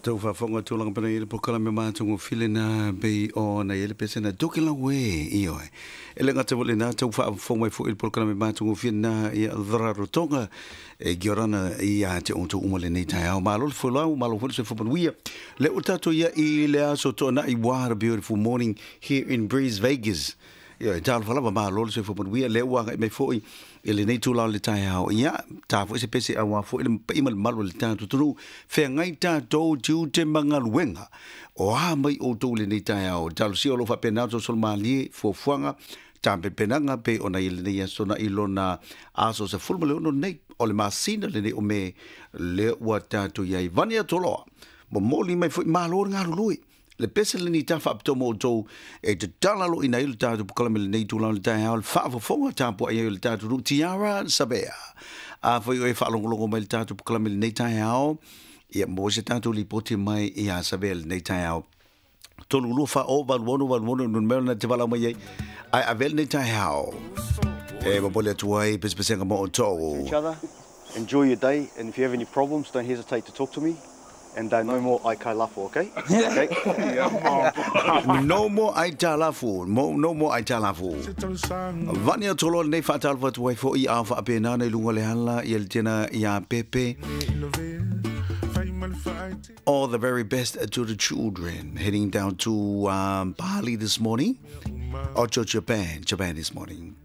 Tou faafofoga tulaga pena i le polokalame matagofie lena pei ona i ai le pese na Tokelau e, ioe. E le gata foi lena, tau faafofoga mai foi i le polokalame matagofie lena ia Rarotonga e Giorana ia te outou uma lenei taeao. Malo le folau, malo foi le soifua manuia. Le ua tatou ia i le aso Toonai. What a beautiful morning here in Breeze Vegas. Ioe, talofa lava, malo le soifua manuia. Lea ua agai mai foi i lenei itula o le taeao. Ia, ta foi se pese aua foi le paia ma le mamalu o le tatou atunuu. Feagai tatou tiute ma galuega. O a mai outou i lenei taeao? Talosia o lo o faapena ona solosolo malie fuafuaga, tapenapenaga pei ona i lenei aso na i lona aso 16 nei o le masina lenei o Me, lea ua tatou i ai. Vania Toloa, momoli mai foi malo le galulue. Le pese lenei ta faapitoa mo outou e tatala loina ai le tatou polokalame lenei itula o le taeao, le faafofoga tapuai ai o le tatou nuu Tiara Savea. A foi o e faalogologo mai le tatou polokalame lenei taeao, ia maua se tatou lipoti mai ia Savea lenei taeao. 32 4 8 6 8 6 numera na te valaau mai ai. Ai ave lenei taeao. E momoli atu ai pesepesega mo outou. Each other. Enjoy your day, and if you have any problems, don't hesitate to talk to me. And no more aitalafu, okay? Okay. No more aitalafu. No more aitalafu. Vania Tolo lenei faatalofa atu ai foi a faapena na i luga o le ala ia le tena ia Pepe. All the very best to the children heading down to Bali this morning. Or to Japan, Japan this morning.